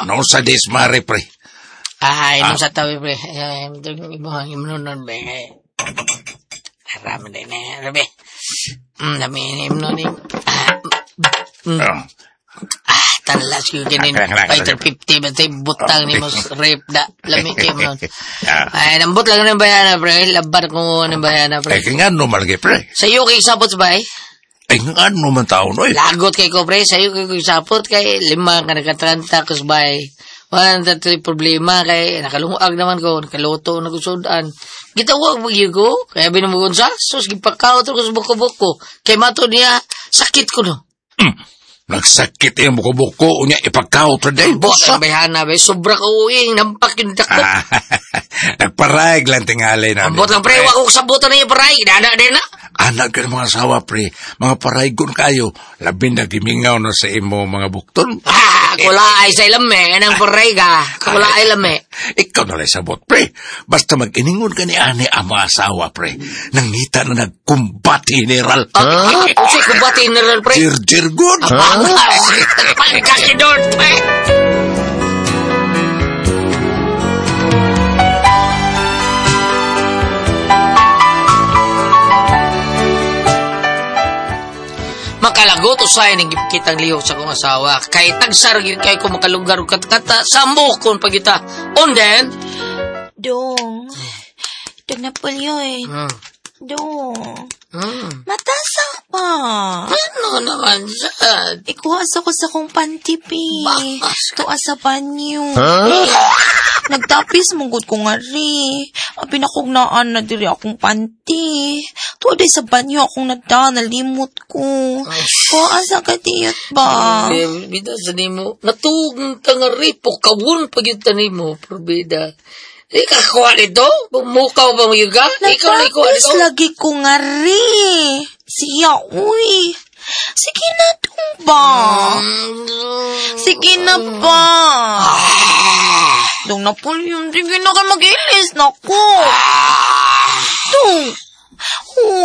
No sa dismare, pre. Ay, nung sa tawi, pre. Ay, imong imnonon, be. Arami din eh. Rabi. Dami imnon ni. Tanlas ko ganin. Fighter 50 ba tayo butang ni mo rape da. Lami kayo mo. Ay, nambot lang ng bayana, pre. Labar ko ng bayana, pre. Ay, nga no malagi, pre. Sa iyo kay sabot, bay? Ay, nga no man tao, no, eh. Lagot kay ko, pre. Sa iyo kay sabot, kay lima ka nagkatranta, kus, bay. Wala na problema, kay nakalungag naman ko, nakaluto, nagusudan. Gitawag mo yun ko, kaya binubugon sa, sus, gipakaw to ko sa buko-buko. Kay mato niya, sakit ko, no. Nagsakit yung buko-buko, unya ipagkaw to day. Bot ang bayhana, bay. Sobra ka uwing, nampak yung dako. Nagparayag lang tingali na. Ambot lang, pre. Wag ko sabutan na yung paray. Dana, dana. Anak ka ng mga asawa, pre. Mga paraygon kayo. Labi na gimingaw na sa imo mga bukton. Kula ay sa ilame. Anang paray ka. Kula ay lame. Ikaw na lang sabot, pre. Basta mag-iningon ka ni ani ang mga asawa, pre. Nangita na nagkumbati general. Kasi kumbati general, pre. Jir-jir good. Pagkakidor, pre. Makalagot usay ning kitang lihok sa akong asawa. Kay tagsar gyud kay ko makalugar og katkata samok kon pagita. On then, Dong. Dong na pulyoy. Dong. Matasa pa. Ano naman sad? Ikuha sa ko sa kong pantipi. Tuwa sa banyo. Nagtapis mong ko nga ri. Ang pinakugnaan na diri akong panty. Tuwa day sa banyo akong nada, nalimot ko. Kuha sa katiyot ba? Bida sa nimo. Natuog ka nga ri, pukawon pag yun tanimo, probida. Ikakuha nito? Bumukaw ba mo yun ka? Ikaw na ikuha nito? Nagtapis lagi ko nga ri. Siya, uy. Sige na, dong ba? Sige na ba? Dong na po yun. Sige na kayo mag-ilis na ko. Dong.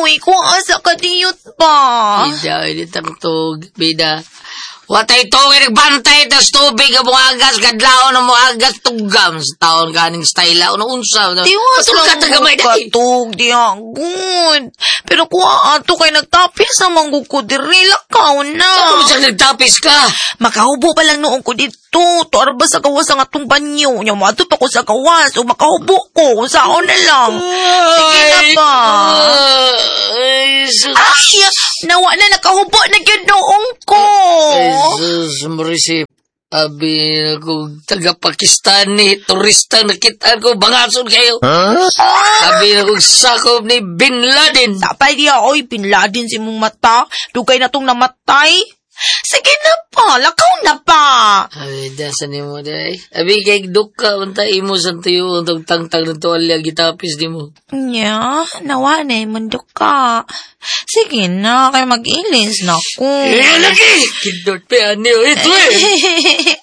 Uy, kung asa ka diyot ba? Bida, initang tug. Bida. Watay to, nagbantay tas tubig ang muagas, kadlaon ang muagas, tugam sa taon kaning style, ano unsa. Tiwas lang mo katug, diya, good. Pero kung ato kay nagtapis ang manggug ko, diri, lakaw na. Ano siya nagtapis ka? Makahubo pa lang noong ko dito, tuarba sa gawas ang atong banyo. Nya, mato pa ko sa gawas, o makahubo ko, kung saan na lang. Sige na ba? Ay, nawa na, nakahubo na gyud noong ko. Jesus, Marisip. Abi ko taga-Pakistani, turista nakita ko, bangason kayo. Huh? Abi na kong sakop ni Bin Laden. Sapay diya, oy, Bin Laden si mong mata. Dugay na tong namatay. Sige na pa, lakaw na pa. Abi, dasan ni mo, day. Abi, kay duka, unta imo sa tuyo, untong tangtang ng tuwalya, gitapis di mo. Nya, nawa na imong duka. Sige na, kay mag-ilis na ko. Eh, lagi! Kindot pa, ano, ito eh.